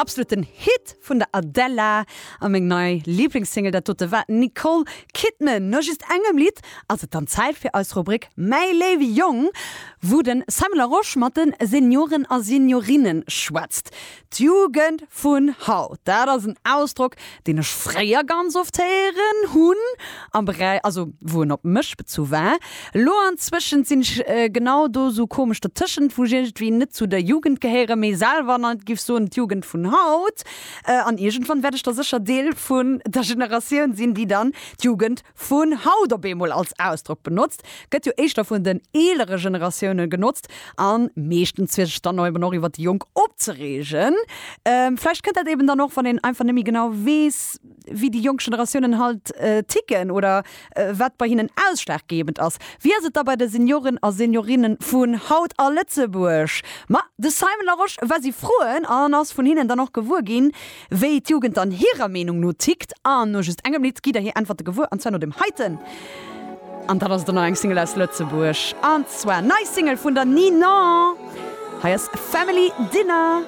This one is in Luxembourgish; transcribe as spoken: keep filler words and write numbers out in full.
Absoluten Hit vun der Adele a meng nei Lieblingssingle, dat dote war Nicole Kidman. No just engem Lidd ass et dann Zäit fir eis Rubrik Mäi léiwe Jong, wou de Simon Larosche mat de Senioren a Seniorinnen schwätzt. D'Jugend vun haut, dat ass en Ausdrock, deen ech fréier ganz oft héieren hunn, am Beräich, also wou en op mech bezu war. Elo anzwëschent sinn ech genau do sou komesch dertëschent, wou ech iergendwéi net zu der Jugend gehéieren, mee selwer net giff soen d'Jugend vun haut. An iergendwann wäert ech da sécher Deel vun der Generatioun sinn, déi dann d'Jugend vun haut op eemol als Ausdrock benotzt. Gëtt jo éischter vun den eelere Generatioune genotzt an meeschtens fir sech dann eben och iwwer déi Jonk opzereegen. Vläicht kënnt dat eben dann och, wann een einfach net méi genau weess, wéi déi jonk Generatiounen halt ticken oder wat bei hinnen ausschlaggebend ass. Wéi ass et da bei de Senioren a Seniorinne vun haut a Lëtzebuerg? Ma de Simon Larosche war si froen an ass vun hinnen dann och gewuer ginn, wéi d'Jugend dann hirer Meenung no tickt. An no just engem Lidd gitt der hir Äntwerte gewuer, an zwar no deem heiten. An dat ass dann nach eng Single aus Lëtzebuerg, an zwar nei Single vun der Ninon. Hei ass Family Dinner.